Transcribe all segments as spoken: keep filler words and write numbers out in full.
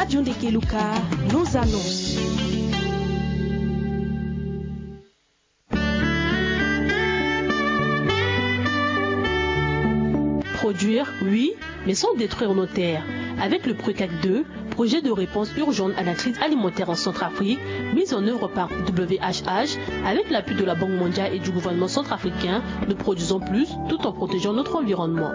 Radio Ndekeluka, nos annonces. Produire, oui, mais sans détruire nos terres. Avec le PRUCAC deux, projet de réponse urgente à la crise alimentaire en Centrafrique, mis en œuvre par W H H, avec l'appui de la Banque mondiale et du gouvernement centrafricain, nous produisons plus tout en protégeant notre environnement.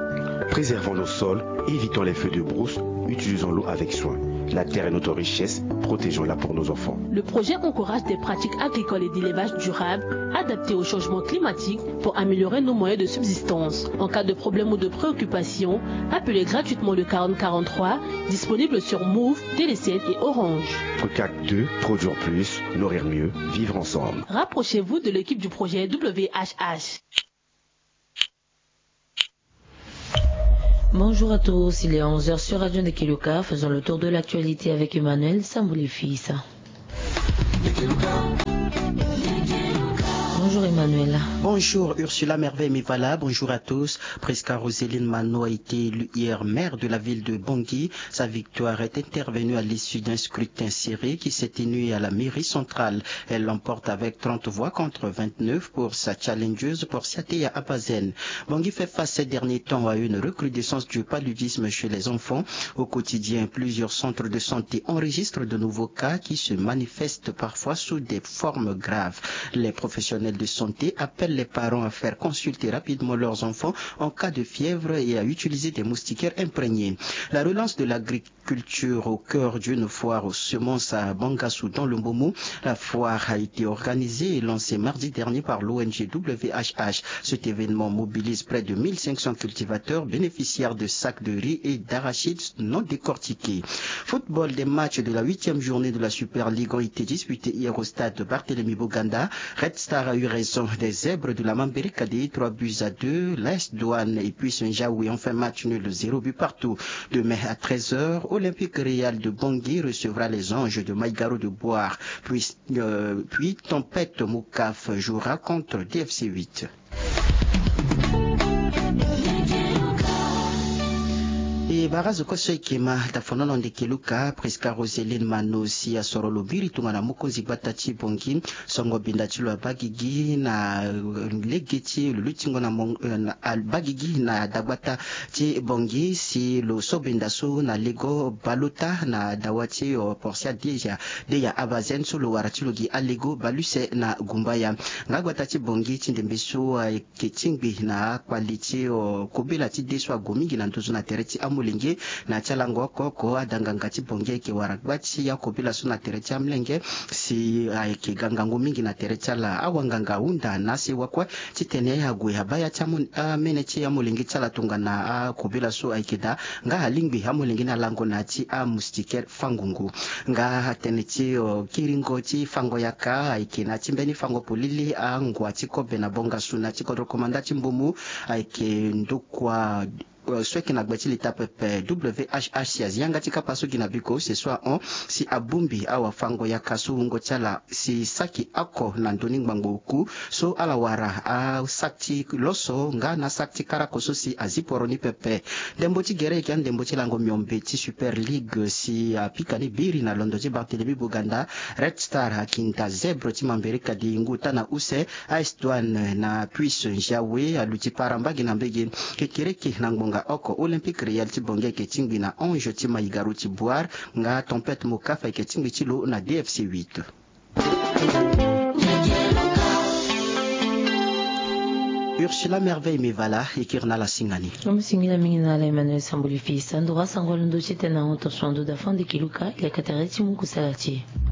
Préservons nos sols, évitons les feux de brousse, utilisons l'eau avec soin. La terre est notre richesse, protégeons-la pour nos enfants. Le projet encourage des pratiques agricoles et d'élevage durables, adaptées au changement climatique pour améliorer nos moyens de subsistance. En cas de problème ou de préoccupation, appelez gratuitement le quarante quarante-trois, disponible sur Moov, Telecel et Orange. PRUCAC deux, produire plus, nourrir mieux, vivre ensemble. Rapprochez-vous de l'équipe du projet W H H. Bonjour à tous, il est onze heures sur Radio Ndekeluka. Faisons le tour de l'actualité avec Emmanuel Sambouli-Fils. Bonjour Emmanuel. Bonjour Ursula Merveille Mivala, bonjour à tous. Prisca Roseline Mano a été élue hier maire de la ville de Bangui. Sa victoire est intervenue à l'issue d'un scrutin serré qui s'est tenu à la mairie centrale. Elle l'emporte avec trente voix contre vingt-neuf pour sa challengeuse Portia Teya Abazen. Bangui fait face ces derniers temps à une recrudescence du paludisme chez les enfants. Au quotidien, plusieurs centres de santé enregistrent de nouveaux cas qui se manifestent parfois sous des formes graves. Les professionnels de santé appellent les parents à faire consulter rapidement leurs enfants en cas de fièvre et à utiliser des moustiquaires imprégnés. La relance de l'agriculture au cœur d'une foire aux semences à Bangassou dans le Mbomou. La foire a été organisée et lancée mardi dernier par l'O N G W H H. Cet événement mobilise près de mille cinq cents cultivateurs bénéficiaires de sacs de riz et d'arachides non décortiqués. Football, des matchs de la huitième journée de la Super League ont été disputés hier au stade Barthélemy Boganda. Red Star a eu raison des Zèbres de la Mambérika des trois buts à deux. L'A S Douane et puis Saint-Jaoui ont fait match nul zéro but partout. Demain à treize heures, Olympique Réal de Bangui recevra les Anges de Maïgaro de Boire. Puis, euh, puis Tempête Moukaf jouera contre D F C huit. E bara zo kue so e ke ma dafonono Ndekeluka, Prisca Roseline Mano si asoro lo biri tongana mokonzi gbata ti Bangui. Songo binda ti lo abaa gigi na lege ti lo lutingo na, na abaa gigi na dagbata ti Bangui si lo so binda so na lego baleota na dawa ti Portia Deya, Deya Abazen so lo wara ti lo gi alego baleuse na gumbaya. Nga gbata ti Bangui ti ndembe so ayeke tingbi na akpali ti kobela ti de so ague mingi na nduzu na tere ti amolenge. Na ya ti alango oko oko ada nganga ti Bangui ayeke wara gba ti akobela so na tere ti amolenge si ayeke ga ngangu mingi na tere ti ala. Awanganga ahunda na asewa kue titene ague abaa ya ti amene ti amolenge ti ala tongana akobela so ayeke daa nga alingbi amolenge ni alango na ya ti amoustiquaire fango ngu. Nga atene ti kiringo ti fango yaka ayeke na ya ti mbeni fango polele angua ti kobe na bongasu na ya ti kodro komanda ti mbumu. Ayeke ndokua so ayeke na gbe ti leta pepe W H H si azi yanga ti kapa so gi na biko use so ahon si abongbi awafango yaka so wungo ti ala si saki oko na ndoni ngbangbo oku so ala wara asaki ti loso nga na asaki ti karako so si azi poro ni pepe. Ndembo ti gere ayeke andembo ti lango miombe ti Super League si apika ni biri na londo ti Barthélemy Boganda. Red Star akinda Zèbre ti Mambérika di ngu taa na use. A S Douane na Puce Njawe aluti para mbage na mbage. Kekereke na ngbonga oko Olympique Réal ti Bangui ayeke tingbi na Ange ti Maïgaro ti Boire nga Tempête Moukaf ayeke tingbi ti lo na D F C huit. Ursula Merveille Mivala e kiri na ala singa ni. Mo singila mingi na ala Emmanuel Samboli Fils. Ndo ga sango londo ti tene na hon tonso ando dafande kiluka leka tere ti mu kusala ti e.